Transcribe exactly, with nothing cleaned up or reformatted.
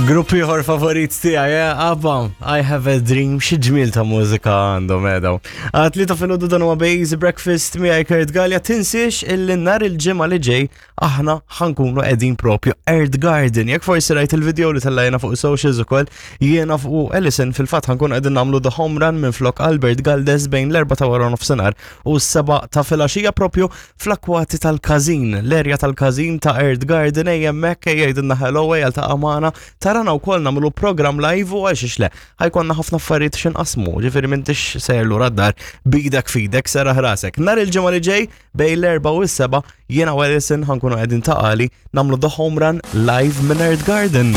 Grupp ieħor favorit tiegħi, eh, ABBA, I Have a Dream, xi ġmiel ta' mużika għandhom edaw. Għat-tlieta filgħodu, dan huwa Bejz Breakfast miegħi Kurt Gallia. Tinsiex illi nhar il-Ġimgħa li ġej aħna ħa nkunu qegħdin propju Earth Garden. Jekk forsi rajt il-video li tellajna fuq socials ukoll, jiena fuq Ellison fil-fatt ħa nkunu qegħdin nagħmlu the home run minn flok Albert Galdes bejn l-erbgħa ta' wara nofsinhar u s-sebgħa ta' filgħaxija propju fl-akwati tal-Każin, l-erja tal-Każin ta' Earth Garden. Ejja hemmhekk, ejja għidilna hello, ejja ta' amana, tarana wkoll nagħmlu program live u għalxiex le, ħa jkollna ħafna affarijiet x'inqasmu, ġifieri m'intix sejjer lura d-dar bidek fidek, serraħ rasek. Nhar il-Ġimgħa li ġej bejn l-erbgħa u s-sebgħa jiena u Ellison ħa nkunu qegħdin Ta' Qali nagħmlu the home run live minn Earth Garden.